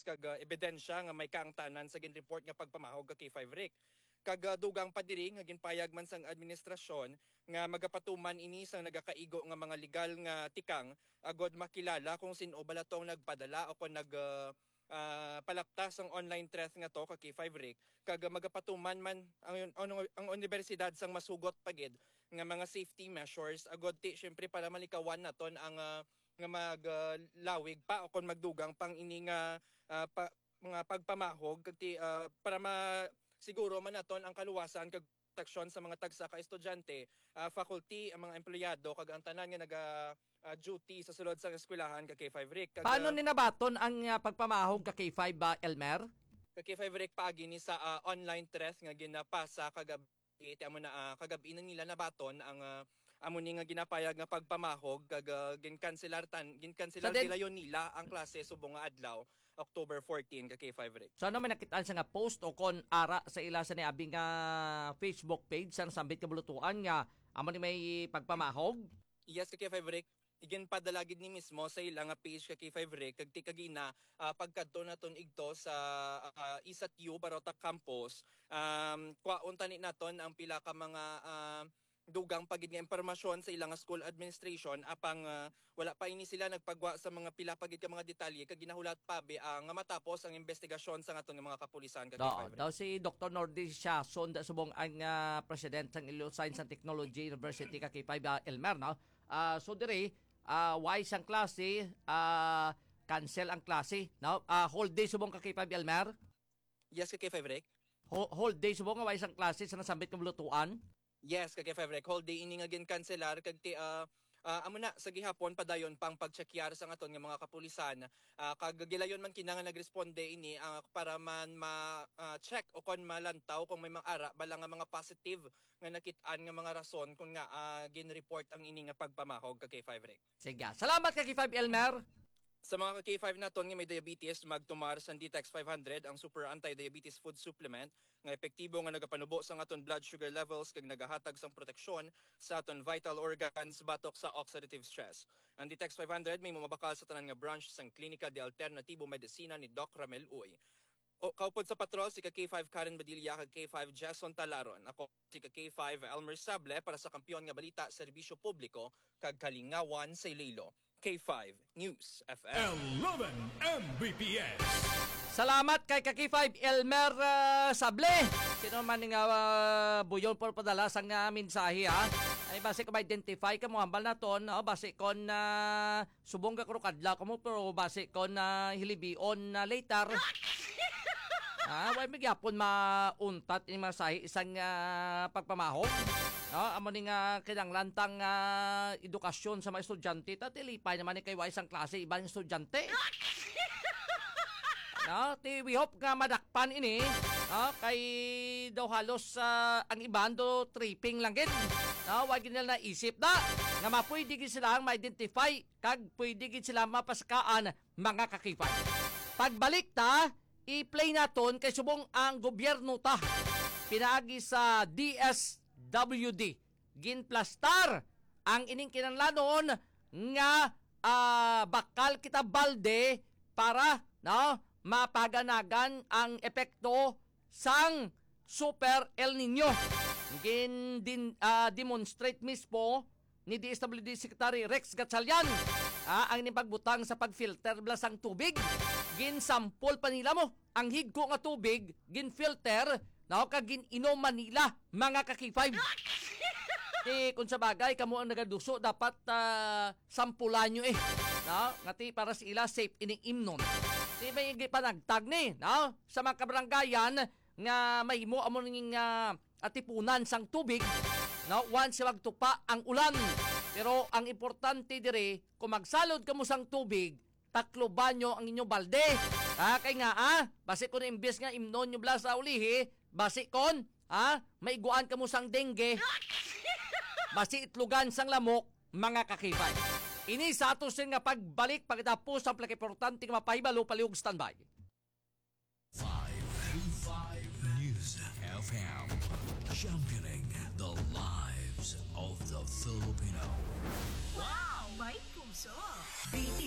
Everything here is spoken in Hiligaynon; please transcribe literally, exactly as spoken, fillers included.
kag, ah, ebidensya nga may kaangtanan sa ginreport nga pagpamahog ka K five Rick. Kag, ah, dugang pa diri nga ginpayag man sang administrasyon nga magapatuman ini sang nagakaigo nga mga legal nga tikang agod makilala kung sin-o bala tong nagpadala o kon nag, ah, ah, palapta sang online threat nga to ka K five Rick. Kag, ah, magapatuman man ang, ang, ang unibersidad sang masugot pa gid nga mga safety measures agod ti, siyempre, para malikawan naton ang, ah, nga mag, ah, lawig pa o kon magdugang pang ini nga, ah, pa, mga pagpamahog kag ti, ah, para ma-, siguro man naton ang kaluwasan kag proteksyon sa mga tagsa ka estudyante, ah, faculty, ang mga empleyado kag ang tanan nga naga, ah, duty sa sulod sang eskwelahan ka K five Rick. Kag, Paano ah, ni nabaton ang, ah, pagpamahog ka K five, ah, Elmer? Ka K five Rick, paagi ni sa, ah, online threat nga ginapasa kagab-, ti amo na, ah, kagab-i na nila nabaton ang, ah, amo ni nga ginapayag nga pagpamahog kag, ah, ginkanselar tan-, ginkanselar Sa den- gilayon nila ang klase subong nga adlaw, October fourteen, ka K five Rick. So, ano may nakitaan sa nga post o kon ara sa ila sa niabing nga Facebook page sang Sambit Kabulutuan nga amo ni may pagpamahog? Yes, ka K five Rick. Iginpadala gid ni mismo sa ila nga page ka K five Rick kag ti kagina, ah, pagkadto naton igto sa, ah, Isat U Barota Campus, um, kwaon tani naton ang pila ka mga, ah, dugang pa gid nga impormasyon sa ila nga school administration, apang, ah, wala pa ini sila nagpagwa sa mga pila pa gid ka mga detalye kag ginahulat pa bi, ah, nga matapos ang investigasyon sa aton nga mga kapulisan ka K five Rick. Daw si Doktor Nordy Siason, da subong ang, ah, president sang Iloilo Science and Technology University ka K five, ah, Elmer, no? Ah, so diri, ah, way sang klase, ah, cancel ang klase, no? Ah, whole day subong ka K five, Elmer? Yes, ka K five, Rick. Ho-, whole day subong nga way sang klase sa nasambit nga bulutuan? Yes, ka K five, Rick. Whole day ini nga ginkanselar kag ti, ah, ah, amo na, sa gihapon padayon pang pagtsekyar sa aton nga mga kapulisan. Ah, kag gilayon man kina nga nagresponde ini, ah, para man ma, ah, check o kon malantaw kung may mga ara bala nga mga positive nga nakit-an nga mga rason kon nga, ah, gin-report ang ini nga pagpamahog ka K five, Rick. Sige. Salamat ka K five, Elmer. Sa mga ka K five naton nga may diabetes, magtumar sang Detox five hundred, ang super anti-diabetes food supplement nga epektibo nga nagapanubo sa aton blood sugar levels kag nagahatag sang proteksyon sa aton vital organs batok sa oxidative stress. Ang Detox five hundred may mabakal sa tanan nga branch sang Klinika de Alternatibo Medicina ni Doc Ramel Uy. O, kaupod sa patrol, si ka K five Karen Badilla kag K five Jason Talaron. Ako si ka K five Elmer Sable para sa Kampiyon nga Balita, Serbisyo Publiko, kag Kalingawan sa Iloilo. K five News F M. Eleven M B P S. Salamat kay ka K five Elmer, ah, Sable. Sino man nga, ah, buyon por padala sang, ah, mensahe, ha? Ay, basi ko ma-identify ka mo, hambal naton, no? Basi kon, ah, subong ka krokadla ka mo, pero basi kon, ah, hilibion na later. Ah, way magyapon mauntat ni masahi isang, ah, pagpamahog. No? Amo ni nga kinahanglan tang, ah, edukasyon sa mga estudyante. Ta, tilipay naman ni kay way isang klase, ibang estudyante. No? Ti, we hope nga madakpan ini. No? Kay daw halos, ah, ang iban do tripping lang gid. No? Wa gid nila naisip na nga mapwede gid sila ang ma-identify kag pwede gid sila mapasakaan, mga ka-K five. Pagbalik ta, i-play naton kay subong ang gobyerno ta pinaagi sa D S W D ginplastar ang ining kinahanglanon nga, ah, bakal kita balde para, no, mapaganagan ang epekto sang Super El Nino. Gin din, ah, demonstrate mismo ni D S W D Secretary Rex Gatchalian, ah, ang ining pagbutang sa pag-filter bala sang tubig. Ginsampol pa nila mo ang higko nga tubig, gin-filter, no, kag gin-inom man nila, mga ka-K five. Ti, kung sa bagay, kamo ang nagaduso, dapat, ah, sampulan nyo eh. No? Nga ti, para sa ila, safe ining imnon. Ti, may gipanagtag ni, no? Sa mga kabaranggayan, nga mahimo amo ning, ah, atipunan sang tubig, no, once magtupa ang ulan. Pero ang importante diri, kung magsalod kamo sang tubig, takluban nyo ang inyo balde. Ha, kay nga, ah, basi kon imbis nga imnon nyo bala sa ulihi, basi kon, ah, maiguan kamo sang dengue, basi itlugan sang lamok, mga ka-K five. Ini sa ato sin nga pagbalik, pagkatapos ang pinakaimportante nga mapahibalo, palihog standby. Five, five News F M, championing the lives of the Filipino. Wow! May puso!